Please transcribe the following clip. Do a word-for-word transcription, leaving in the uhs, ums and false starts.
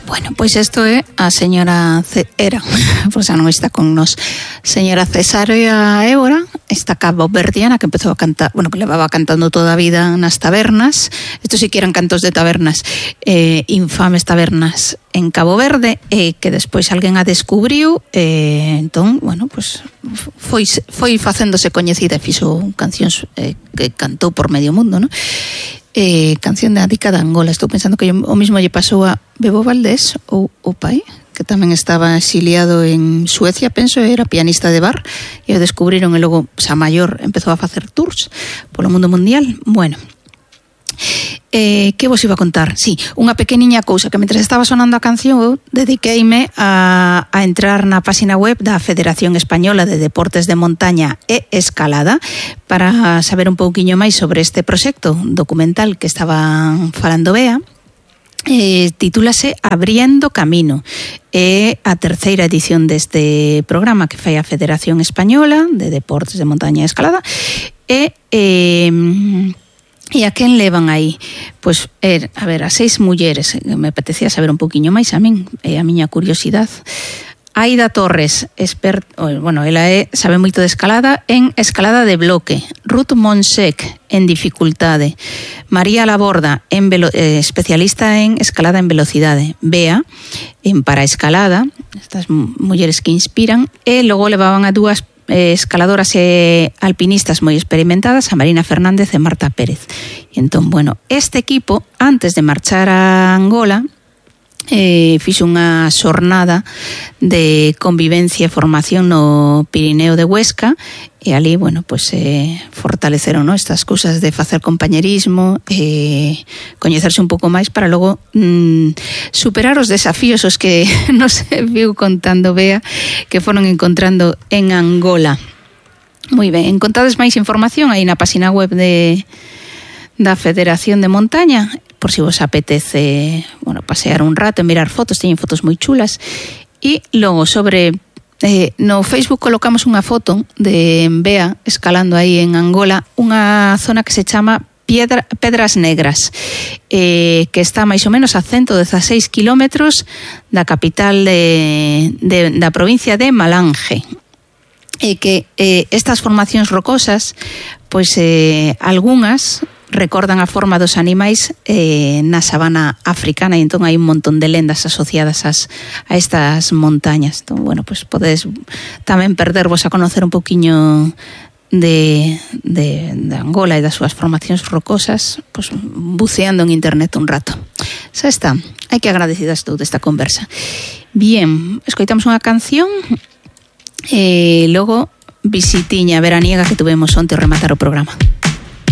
Bueno, pois isto é a señora C... era, pois xa non está con nos, señora Cesárea Évora, esta caboverdiana que empezou a cantar, bueno, que levaba cantando toda a vida nas tabernas. Estos sí que eran cantos de tabernas, eh, infames tabernas en Cabo Verde, eh, que despois alguén a descubriu, eh, entón, bueno, pues foi, foi facéndose coñecida e fixo cancións eh, que cantou por medio mundo, non? Eh, canción de Adica de Angola. Estou pensando que o mismo lle pasou a Bebo Valdés ou o pai, que tamén estaba exiliado en Suecia, penso, era pianista de bar, e o descubriron e logo xa maior empezou a facer tours polo mundo mundial. Bueno, Eh, que vos iba a contar? Sí, unha pequeniña cousa, que mentre estaba sonando a canción eu dediqueime a, a entrar na página web da Federación Española de Deportes de Montaña e Escalada para saber un pouquiño máis sobre este proxecto documental que estaban falando Bea. Eh, titúlase Abriendo Camino, é a terceira edición deste programa que fai a Federación Española de Deportes de Montaña e Escalada, e eh, E a quen levan aí? Pois, er, a ver, a seis mulleres, me apetecía saber un poquinho máis a min, é a miña curiosidade. Aida Torres, expert, bueno, ela é, sabe moito de escalada en escalada de bloque. Ruth Monsec, en dificultade. María Laborda, en velo, eh, especialista en escalada en velocidade. Bea, en paraescalada, estas mulleres que inspiran, e logo levaban a dúas escaladoras e alpinistas moi experimentadas, a Marina Fernández e Marta Pérez. E entón, bueno, este equipo, antes de marchar a Angola, eh, fixo unha xornada de convivencia e formación no Pirineo de Huesca, e ali, bueno, pues eh, fortaleceron, ¿no?, estas cousas de facer compañerismo, eh, coñecerse un pouco máis para logo mm, superar os desafíos os que nos viu contando Bea que foron encontrando en Angola. Moi ben, encontrades máis información aí na página web de da Federación de Montaña, por si vos apetece, bueno, pasear un rato e mirar fotos, teñen fotos moi chulas. E logo sobre Eh, no Facebook colocamos unha foto de Bea escalando aí en Angola, unha zona que se chama Piedra, Pedras Negras, eh, que está máis ou menos a ciento dezaseis kilómetros da capital de, de, da provincia de Malange. E que eh, estas formacións rocosas, pois eh, algunhas recordan a forma dos animais eh, na sabana africana, e entón hai un montón de lendas asociadas as, a estas montañas. Entón, bueno, pues podedes tamén perdervos a conocer un pouquiño de, de, de Angola e das súas formacións rocosas, pues, buceando en internet un rato. Xa está, hai que agradecida estou desta conversa. Bien, escoitamos unha canción e logo visitiña veraniega que tuvemos onte ao rematar o programa.